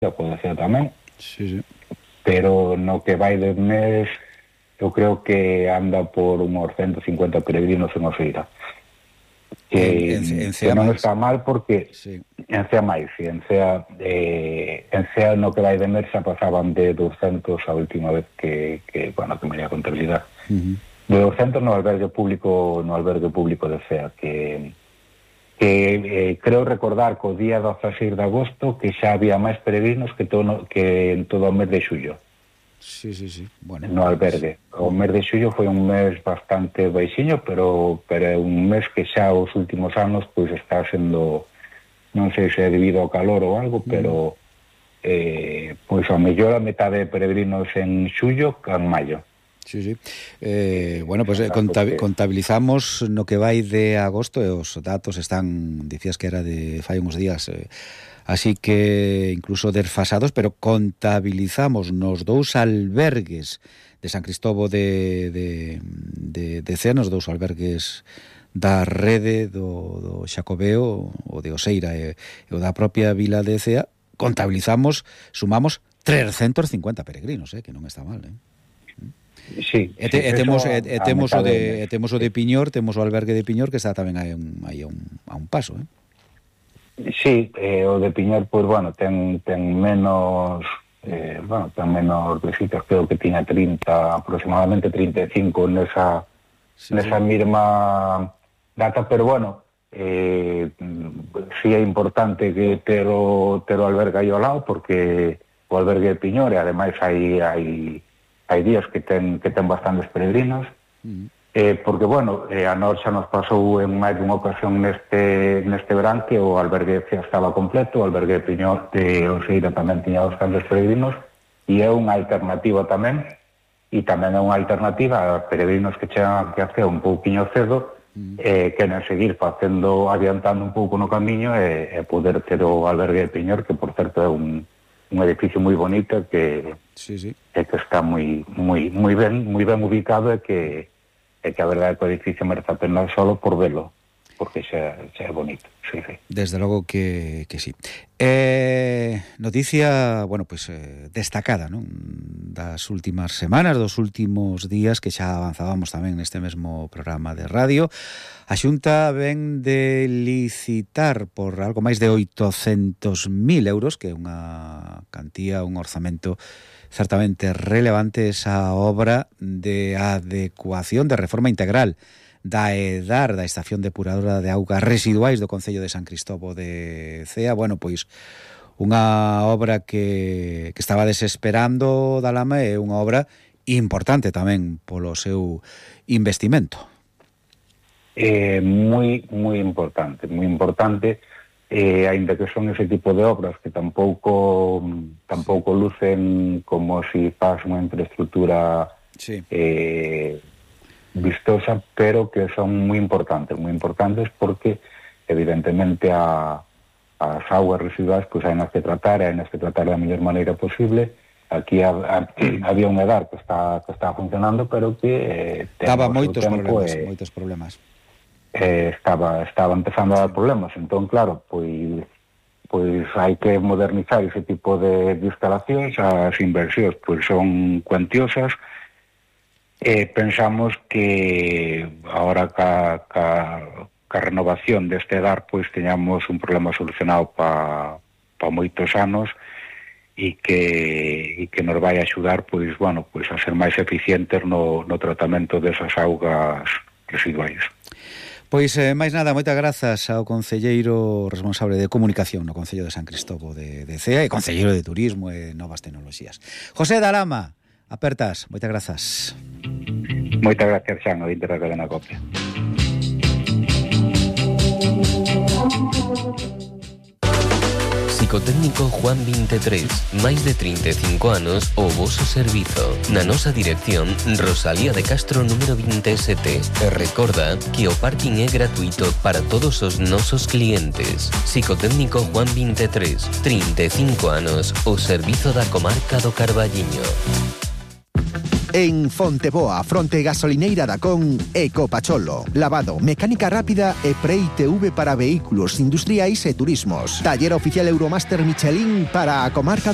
pode ser tamén. Sí. Pero no que vai de mes, eu creo que anda por uns 150 peregrinos en Oseira. Que non está mal porque en Cea máis, en Cea no que vai de mes xa pasaban de 200 a última vez que me a contabilidade. De 200 no albergue público de Cea, que creo recordar que o día 16 de agosto que xa había máis peregrinos que en todo o mes de xullo. Sí. Bueno, no albergue. O mes de xullo foi un mes bastante baixiño, pero é un mes que xa os últimos anos pois está sendo, non sei se é debido ao calor ou algo, pero pois ao mellor a metade de peregrinos en xullo que en maio. Sí. Bueno, pues contabilizamos no que vai de agosto e os datos están, dicías que era de fai uns días, así que incluso desfasados, pero contabilizamos nos dous albergues de San Cristóbo de Cea, nos dous albergues da rede do Xacobeo, o de Oseira e o da propia vila de Cea, contabilizamos, sumamos 350 peregrinos, que non está mal, Sí, temos o de Piñor, temos o albergue de Piñor que está tamén aí a un paso, Sí, o de Piñor, pois, ten menos visitas, creo que tiña 30, aproximadamente 35 nesa mesma data, pero sí é importante que ter o albergue aí ao lado, porque o albergue de Piñor, e ademais hai días que ten bastantes peregrinos, porque, a nós xa nos pasou en máis dunha ocasión neste verán que o albergue de Cea estaba completo, o albergue de Piñor de Oseira tamén tiña bastantes peregrinos, e é unha alternativa tamén, e tamén é unha alternativa a peregrinos que chegan aquí a Cea un pouquiño cedo, queren seguir adiantando un pouco no camiño e poder ter o albergue de Piñor, que por certo é un edificio moi bonito que está moi ben ubicado e que a verdade é que o edificio merece a pena solo por velo, porque xa é bonito. Sí. Desde logo que sí. Noticia, destacada, non? Das últimas semanas, dos últimos días, que xa avanzábamos tamén neste mesmo programa de radio. A Xunta ven de licitar por algo máis de 800.000 euros, que é unha cantía, un orzamento certamente relevante, esa obra de adecuación, de reforma integral da EDAR, da Estación Depuradora de Augas Residuais do Concello de San Cristóbo de Cea. Unha obra que estaba desesperando da Lama, é unha obra importante tamén polo seu investimento. Moi importante, aínda que son ese tipo de obras que tampouco lucen como si faz unha infraestructura vistosa, pero que son moi importantes porque evidentemente as augas residuais pois hai nas que tratar da mellor maneira posible. Aquí había un EDAR que está funcionando, pero que daba moitos problemas. Estaba empezando a dar problemas, entón claro, pois hai que modernizar ese tipo de instalacións. As inversións pois son cuantiosas. Pensamos que agora ca renovación deste EDAR pois teñamos un problema solucionado pa moitos anos e que nos vai axudar pois a ser máis eficientes no tratamento desas augas residuais. Pois, máis nada, moitas grazas ao concelleiro responsable de comunicación no Concello de San Cristóbo de Cea e concelleiro de Turismo e Novas Tecnoloxías, José da Lama. Apertas, moitas grazas. Moitas gracias, Xan, ointe da cadena Copia. Psicotécnico Juan 23, máis de 35 anos o voso servizo. Na nosa dirección, Rosalía de Castro número 27. E recorda que o parking é gratuito para todos os nosos clientes. Psicotécnico Juan 23, 35 anos, o servizo da comarca do Carballiño. En Fonteboa, fronte gasolineira da Con, Ecopacholo. Lavado, mecánica rápida e pre-ITV para vehículos industriais e turismos. Taller oficial Euromaster Michelin para a comarca do